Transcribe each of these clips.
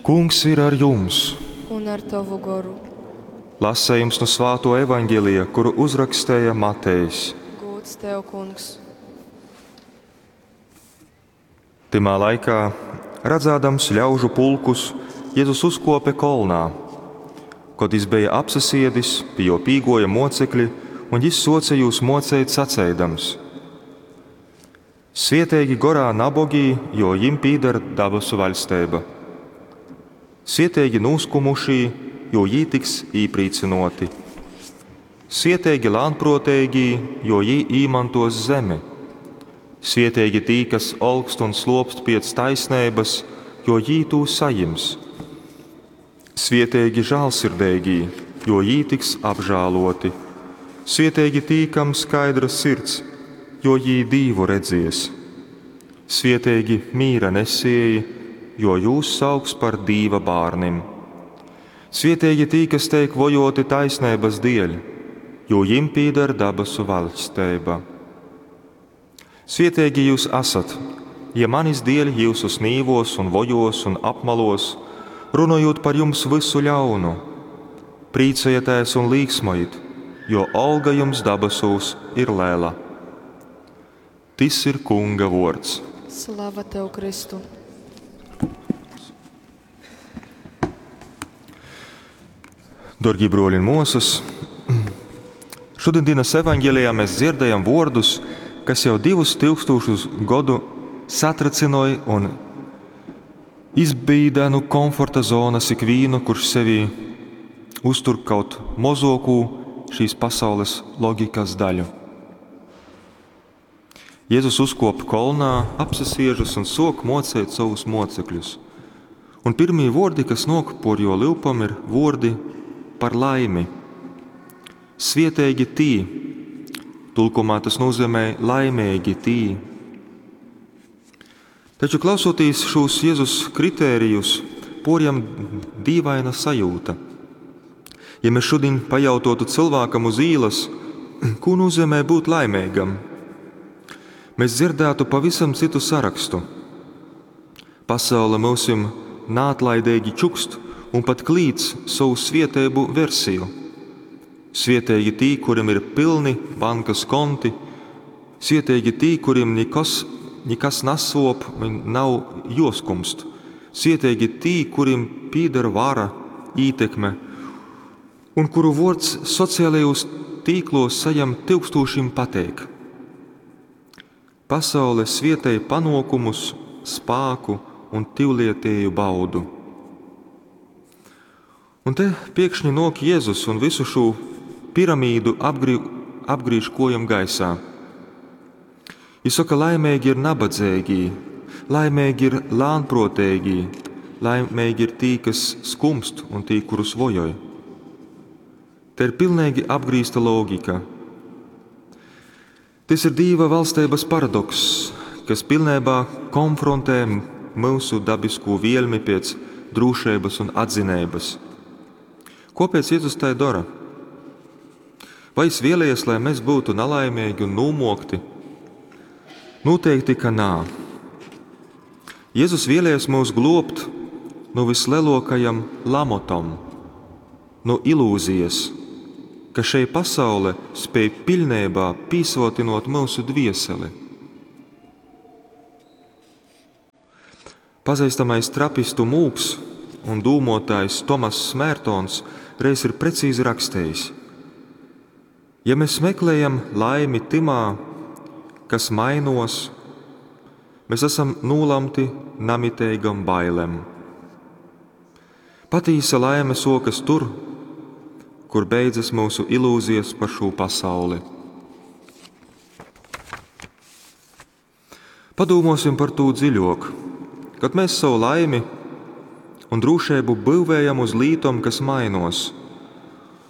Kungs ir ar jums! Un ar tovu goru. Lasējums nu svāto evaņģelija, kuru uzrakstēja Matejs. Gūds tev, kungs! Tymā laikā, radzādams ļaužu pulkus, Jezus uzkōpe kolnā. Kod jys beja apsasiedis, pi jō pīgōja mōcekļi, un jys sōce jūs mōceit saceidams: Svieteigi gorā nabogī, jo jim pīdar dabasu vaļsteiba. Svieteigi nūskumušī, jo jī tiks īprīcynōti. Svieteigi lānprōteigī, jo jī īmantōs zemi. Svieteigi tī, kas olkst un slōpst piec taisneibys, jo jī tū sajims. Svieteigi žālsirdeigī, jo jī tiks apžālōti. Svieteigi tī, kam skaidra sirds, jo jī Dīvu redzies. Svieteigi mīra nesieji, jo jūs sauks par Dīva bārnim. Svieteigi tī, kas teik vojōti taisneibys dieļ, jo jim pīdar dabasu vaļsteiba. Svieteigi jyus asat, ja manis dieļ jyusus nīvōs un vojōs un apmalōs, runojūt par jums vysu ļaunu. Prīcojitēs un līksmojit, jo olga jums dabasūs ir lela. Tys ir Kunga vuords. Slava tev, Kristu! Dorgie bruoļi un muosys, šodien dienas evaņģelijā mēs dzirdējam vuordus, kas jau 2000 godu satricynoj un izbīda nu komforta zonas ikvīnu, kurš sevī uztur kaut mozokū šīs pasaules logikas daļu. Jēzus uzkop kolnā, apsasiežas un sok mocēt savus mocekļus. Un pirmie vordi, kas nok por jo lyupam, ir vordi par laimi. Svieteigi tī, tulkumā tas nozīmē laimīgi tī. Taču klausoties šos Jēzus kritērijus, porjam dīvaina sajūta. Ja mēs šodien pajautotu cilvēkam uz īlas, ko nozīmē būt laimīgam, mēs dzirdētu pavisam citu sarakstu. Pasaule mūsim naatlaidīgi čukst un pat klīdz savu svietēbu versiju. Svietēgi tī, kuriem ir pilni bankas konti, svietēgi tī, kuriem nekas nesop un nav joskumst, svietēgi tī, kuriem pīdara vara, ītekme, un kuru vords sociālajos tīklos sajam tūkstošiem pateik. Pasaule svietēja panokumus, spāku un tivlietēju baudu. Un te piekšņi nok Jēzus un visu šo piramīdu apgriež kojam gaisā. Viņš saka, laimīgi ir nabadzīgi, laimīgi ir lānprotīgi, laimīgi ir tī, kas skumst un tī, kurus vojoj. Te ir pilnīgi apgrīzta logika. Tas ir Dīva valstības paradokss, kas pilnībā konfrontē mūsu dabisko vielmi pēc drūšības un atzinības. Kāpēc Jēzus tai dara? Vai es vēlējies, lai mēs būtu nelaimīgi un nūmokti? Noteikti, ka nā. Jēzus vēlējies mūs globt no vislielākajam lamotam, no ilūzijas, ka šei pasaule spēj pilnībā pīsotinot mūsu dvieseli. Pazīstamais trapistu mūks un dūmotājs Tomass Mērtons reiz ir precīzi rakstījis: Ja mēs meklējam laimi timā, kas mainos, mēs esam nolemti namiteigam bailēm. Patīsa laime sokas tur, kur beidzas mūsu ilūzijas par šo pasauli. Padomāsim par to dziļāk. Kad mēs savu laimi un drošību būvējam uz lītom, kas mainos,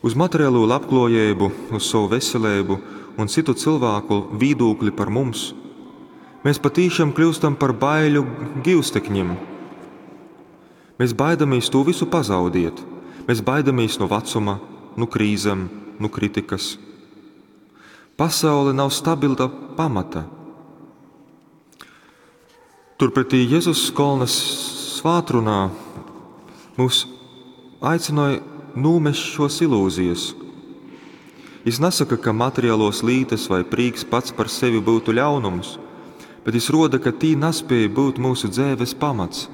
uz materiālo labklājību, uz savu veselību un citu cilvēku viedokli par mums, mēs patīšām kļūstam par baiļu givstekņiem. Mēs baidamies to visu pazaudēt. Mēs baidamies no vecuma, no krīzēm, no kritikas. Pasaule nav stabila pamata. Turpretī Jēzus kolnas svātrunā mūs aicināja nūmest šos ilūzijas. Jis nasaka, ka materiālos lītas vai prīks pats par sevi būtu ļaunums, bet jis roda, ka tī naspēja būt mūsu dzēves pamats.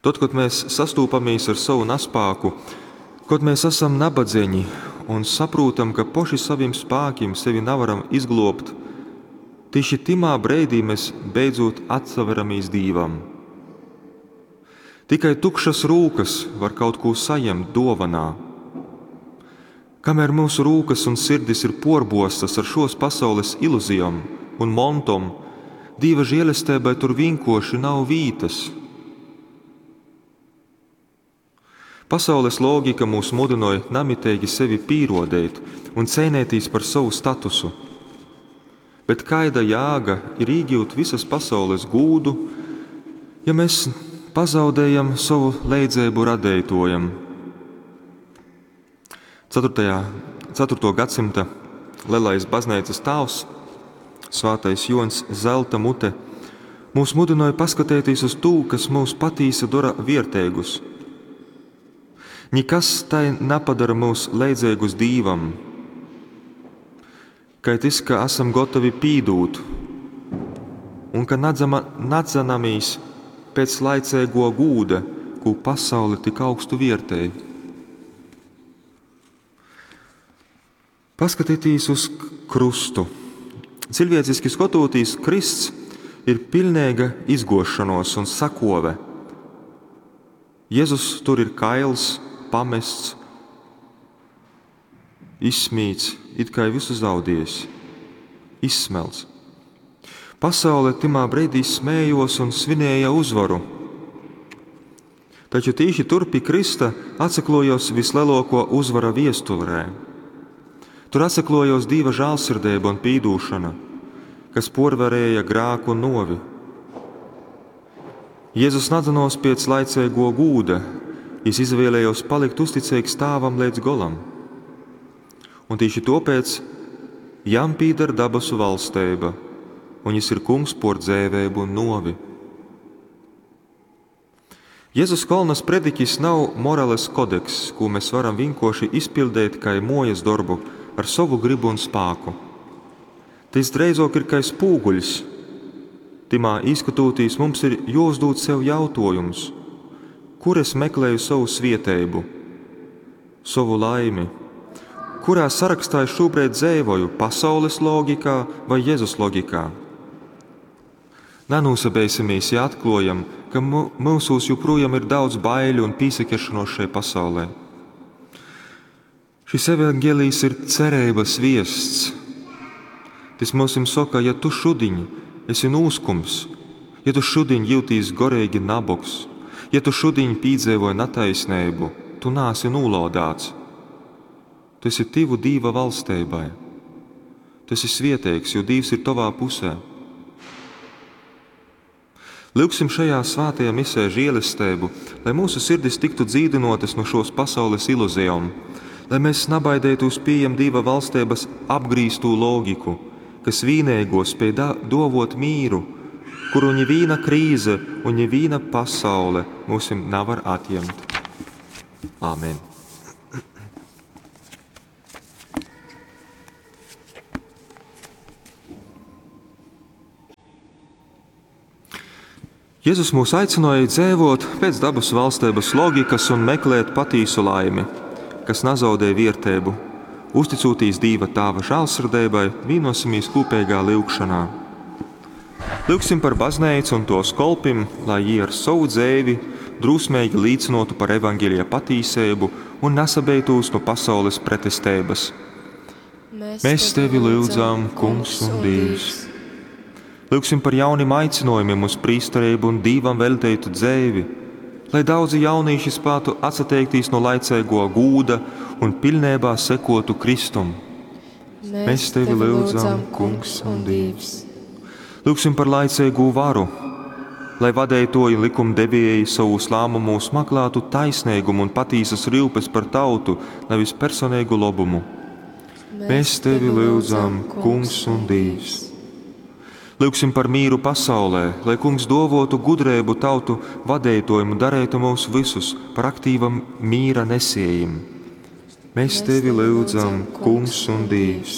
Tad, kad mēs sastūpamies ar savu naspāku, kad mēs esam nabadzeņi un saprotam, ka poši saviem spākiem sevi navaram izglobt, tieši timā breidī mēs beidzot atsaveramies Dīvam. Tikai tukšas rūkas var kaut ko saņemt dovanā. Kamēr mūsu rūkas un sirdis ir porbostas ar šos pasaules ilūzijām un montom, Dīva žēlestībai tur vienkoši nav vītas. Pasaules logika mūs mudināja namitīgi sevi pīrodēt un cēnētīs par savu statusu. Bet kaida jāga ir īgūt visas pasaules gūdu, ja mēs pazaudējam savu leidzēbu radētojam? 4. Gadsimta lielais baznīcas tāvs, svētais Jons Zelta mute, mūs mudināja paskatēties uz tū, kas mūs patīsa dara viertēgus. Nikas tai napadara mūs leidzēgus Dīvam, kai tis, ka esam gotovi pīdūt un ka nadzanamīs pēc laicēgo gūda, ko pasaule tik augstu viertēja. Paskatieties uz krustu. Cilvēciski skatoties, Krists ir pilnīga izgošanos un sakove. Jēzus tur ir kails, pamests, izsmīts, it kā visu zaudējis, izsmelts. Pasaule timā brīdī smējos un svinēja uzvaru. Taču tīši tur pie Krista atsaklojos vislielāko uzvara viesturē. Tur atsaklojos Dieva žālsirdība un pīdūšana, kas porvarēja grāku un novi. Jēzus nadzanos pēc laicēgo gūda, jis izvēlējos palikt uzticīgs tāvam līdz golam. Un tieši topēc jam pīdar dabasu valsteiba, un jis ir kungs por dzēvēbu un novi. Jēzus Kolnas prediķis nav morales kodeks, ko mēs varam vienkoši izpildīt kā mojas darbu ar savu gribu un spāku. Tas dreizāk ir kā spūguļs. Timā izskatūtīs mums ir jāuzdod sev jautājums, kur es meklēju savu svieteibu, savu laimi, kurā sarakstā es šobrīd dzēvoju, pasaules logikā vai Jēzus logikā. Nenūsabēsimies, ja atklājam, ka mūsos joprojām ir daudz baiļu un pīsakešanos šai pasaulē. Šis evaņģēlijs ir cerības viests. Tas mums saka, ja tu šudiņ esi nūskums, ja tu šudiņ jūtīs gorīgi nabogs, ja tu šudiņ pīdzēvoji nataisnību, tu nāsi nūlodāts. Tu esi tivu Dīva valsteibai. Tu esi svieteigs, jo Dīvs ir tavā pusē. Lūgsim šajā svētajā misē žēlestību, lai mūsu sirdis tiktu dzīdinotas no šos pasaules ilūzijām, lai mēs nabaidētos pieejam Dieva valstības apgrīztū logiku, kas vīnēgo spēj dovot mīru, kuru ņevīna krīze un ņevīna pasaule mūsim navar atņemt. Āmen! Jēzus mūs aicināja dzīvot pēc dabas valstības loģikas un meklēt patīsu laimi, kas nazaudē viertēbu. Uzticūtīs Dīva Tāva žālsirdībai, vienosimies kopīgā lūgšanā. Lūgsim par baznīcu un tos kolpim, lai jī ar savu dzēvi drūsmīgi līdzinotu par evaņģēlija patīsību un nesabeitūs no pasaules pretestības. Mēs tevi lūdzam, Kungs un Dievs. Lūgsim par jauniem aicinājumiem uz prīsterību un Dīvam velteitu dzēvi, lai daudzi jaunīši spētu atsateikties no laicēgo gūda un pilnībā sekotu Kristum. Mēs tevi lūdzam, Kungs un Dievs. Lūgsim par laicīgo varu, lai vadētoji un likumdevēji savus lēmumus meklētu taisnīgumu un patīsas rūpes par tautu, nevis personīgu labumu. Mēs tevi lūdzam, Kungs un Dievs. Lyugsim par mīru pasaulē, lai Kungs dōvōtu gudreibu tautu vadeitōjim un dareitu myus vysus par aktīvim mīra nesējim. Mēs Tevi lyudzam, Kungs un Dīvs.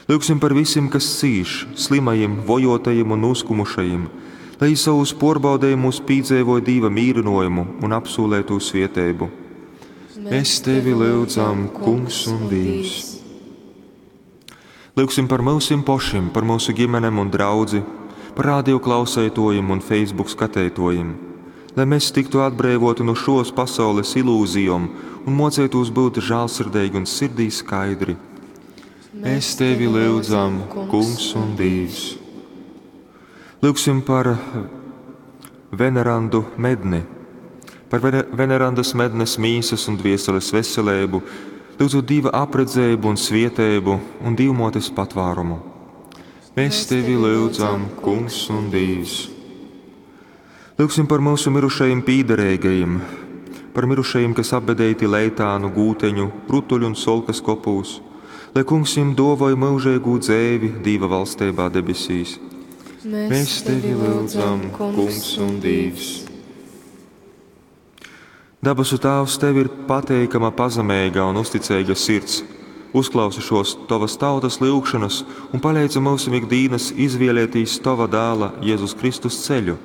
Lyugsim par vysim, kas cīš, slymajim, vojōtajim un nūskumušajim, lai jī sovūs pōrbaudejumūs pīdzeivoj Dīva mīrynōjumu un apsūleitū svieteibu. Mēs Tevi lyudzam, Kungs un Dīvs. Lyugsim par myusim pošim, par myusu ģimenem un draudzi, par radio klauseitōjim un Facebook skateitōjim, lai mes tyktu atbreivōti nu šōs pasaules ilūzijom un mōceitūs byut žālsirdeigi un sirdī skaidri. Mēs Tevi lyudzam, Kungs un Dīvs. Lyugsim par Venerandu Medni, par Venerandas Mednes mīsas un dvieseles veseleibu, lyudzūt Dīva apredzeibu un svieteibu un Dīvmōtes patvārumu. Mēs Tevi lyudzam, Kungs un Dīvs. Lyugsim par myusu mirušajim pīdereigajim, par mirušajim, kas apbedeiti Leitānu, Gūteņu, Rutuļu un Solkas kopūs, lai Kungs jim dōvoj myužeigū dzeivi Dīva valsteibā debesīs. Mēs Tevi lyudzam, Kungs un Dīvs. Dabasu Tāvs, Tev ir pateikama pazemeiga un uzticeiga sirds. Uzklausi šos Tovas tautas lyugšanas un paleidzi myusim ik dīnas izvielietīs Tova dāla Jezus Kristus ceļu.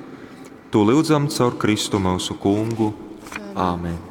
Tū lyudzam caur Kristu myusu Kungu. Āmen.